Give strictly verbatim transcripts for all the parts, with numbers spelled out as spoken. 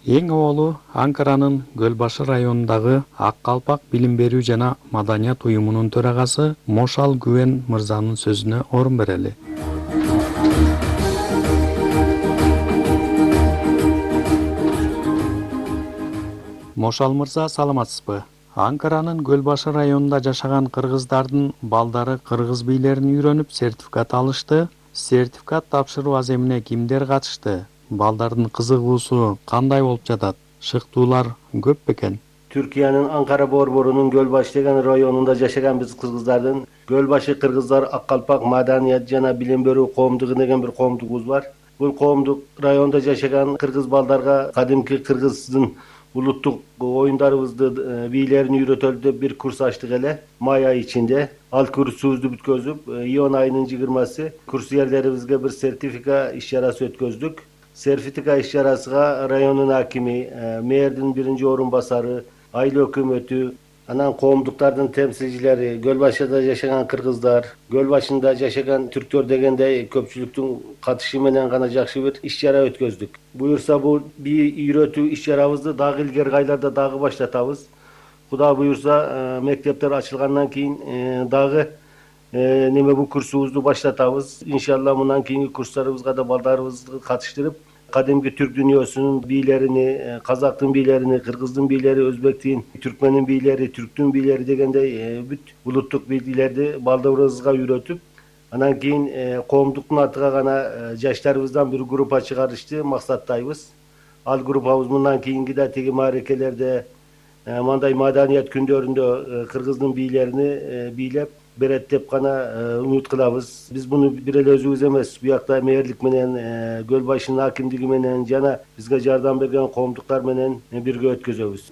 Эң оболу Анкаранын Гөлбашы районундагы Ак Калпак билим берүү жана маданият уюмунун төрагасы Мошал Гүвен мырзанын сөзүнө орун берели. Мошал мырза, саламатсызбы? Анкаранын Гөлбашы районунда жашаган кыргыздардын балдары кыргыз бийлерин үйрөнүп сертификат алышты. Сертификат тапшыруу аземине кимдер катышты? Балдардын кызыгуусу кандай болуп жатат? Шыктуулар көп бекен? Түркиянын Анкара борборунун Гөлбашы деген районунда жашаган биз кыргыздардын Гөлбашы кыргыздар Ак Калпак маданият жана билим берүү коомдугу деген бир коомдугубуз бар. Бул коомдук районда жашаган кыргыз балдарга кадимки кыргыздын улуттук оюндарыбызды бийлерин үйрөтөлү деп бир курс ачтык эле май айы ичинде. Ал курсубузду бүткөзүп, июнь айынын жыйырмасы курсьерлерибизге бир сертифика иш чарасы өткөздүк. Сертифика иш чарасыга районун акими, мэрдин биринчи орун басары, айыл өкмөтү, анан коомдуктардын темсилчилери, Гөлбашыда жашаган кыргыздар, Гөлбашында жашаган түрктөр дегендей көпчүлүктүн катышы менен гана жакшы бир иш чара өткөздүк. Буюрса бул бий үйрөтүү иш чарабызды дагы илгерки айларда дагы баштатабыз. Кудай буюрса, мектептер ачылгандан кийин дагы неме бул курсубузду баштатабыз. Иншалла мындан кийинки курстарыбызга да балдарыбызды катыштырып, кадимки түрк дүйнөсүнүн бийлерини, казактын бийлерини, кыргыздын бийлери, өзбектин, түркмендин бийлери, түрктүн бийлери дегендей бүт улуттук бийлерди балдарыбызга үйрөтүп, анан кийин коомдуктун атыга гана жаштарыбыздан бир группа чыгарышты максаттайбыз. Ал группабыз мындан кийинки да тиги маарекелерде, мындай маданият күндөрүндө кыргыздын бийлерини бийлеп берет деп гана үмүт кылабыз. Биз муну бир эле өзүбүз эмес, буякта мэрлик менен, Гөлбашынын акимдиги менен жана бизге жардам берген коомдуктар менен бирге өткөзөбүз.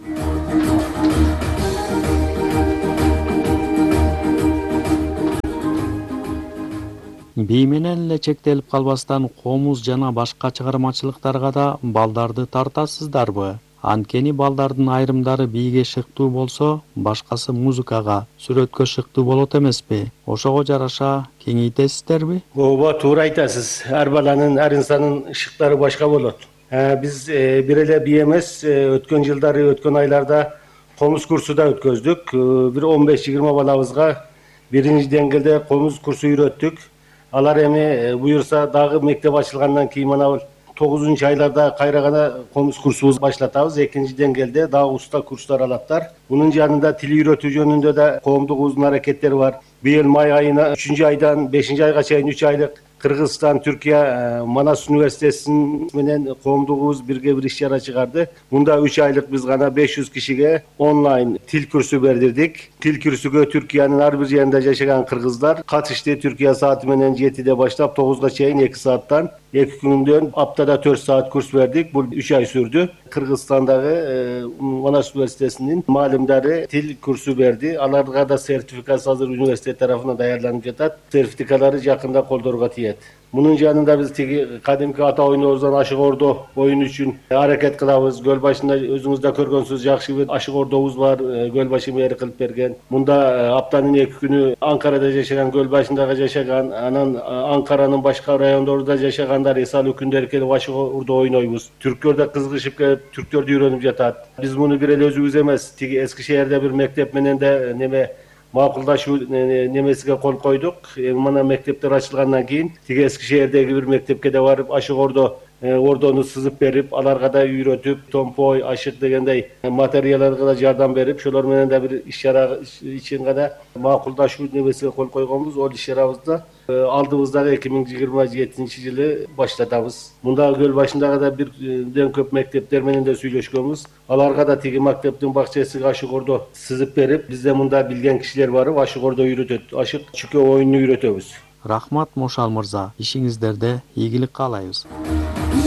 Бий менен эле чектелип калбастан комуз жана башка чыгармачылыктарга да балдарды тартасыздарбы? Анткени балдардын айрымдары бийге шыктуу болсо, башкасы музыкага, сүрөткө шыктуу болот эмеспи? Ошого жараша кеңейтесиздерби? Ооба, туура айтасыз. Ар баланын, ар инсандын шыктары башка болот. Биз бир эле бий эмес, өткөн жылдары, өткөн айларда комуз курсу да өткөздүк. Бир он беш жыйырма балабызга биринчи деңгээлде комуз курсу үйрөттүк. Алар эми буюрса дагы мектеп ачылгандан кийин мына тогузунчу айларда кайра гана комуз курсубузду баштатабыз. Экинчи деңгээлде дагы уста курстар алаттар. Мунун жанында тил үйрөтүү жөнүндө да коомдугубуздун аракеттери бар. Быйыл май айына үчүнчү айдан бешинчи айга чейин үч айлык Кыргызстан, Түркия, Манас университетинин менен коомдугубуз бирге бир иш чара чыгарды. Мунда үч айлык биз гана беш жүз кишиге онлайн тил курсу бердирдик. Тил курсуга Түркиянын ар бир жеринде жашаган кыргыздар катышты. Түркия сааты менен жетиде баштап тогузга чейин эки сааттан, эки күндөн аптада төрт саат курс бердик. Бул үч ай сүрдү. Кыргызстандагы Манас университетинин маалымдары тил курсу берди. Аларга да сертификат азыр университет тарафынан даярданып жатат. Сертификалары жакында колдорго тиет. Мунун жанында биз тиги кадимки ата оюнубуздан Ашык Ордо оюну үчүн аракет кылабыз. Гөлбашында өзүңүз да көргөнсүз, жакшы бир Ашык Ордобуз бар, Гөлбашы мери кылып берген. Мунда аптанын эки күнү Анкарада жашаган, Гөлбашындагы жашаган, анан Анкаранын башка райондорунда жашагандар эс алуу күндөрү келип Ашык Ордо ойнойбуз. Түрктөр да кызыгышып келип, түрктөрдү үйрөнүп жатат. Биз муну бир эле өзүбүз эмес, тиги Эски шээрде бир мектеп менен да неме макулдашуу немесиге кол койдук. Мына мектептер ачылгандан кийин тиги Эски шээрдеги бир мектепке да барып, Ашык Ордо ордону сызып берип, аларга да үйрөтүп, томпой, ашык дегендей материалдарга да жардам берип, ошолор менен да бир иш чара үчүн гана макулдашуу немесиге кол койгонбуз. Ол иш чарабызды алдыбыздагы эки миң жыйырма жетинчи жылы баштатабыз. Мында Гөлбашындагы да бирден көп мектептер менен да сүйлөшкөнбүз. Аларга да тиги мектептин бакчасыга Ашык Ордо сызып берип, бизде мында билген кишилер барып, Ашык Ордо үйрөтөт. Ашык чүкө оюнун үйрөтөбүз. Рахмат Мошал мырза, ишиңиздерде ийгилик каалайбыз.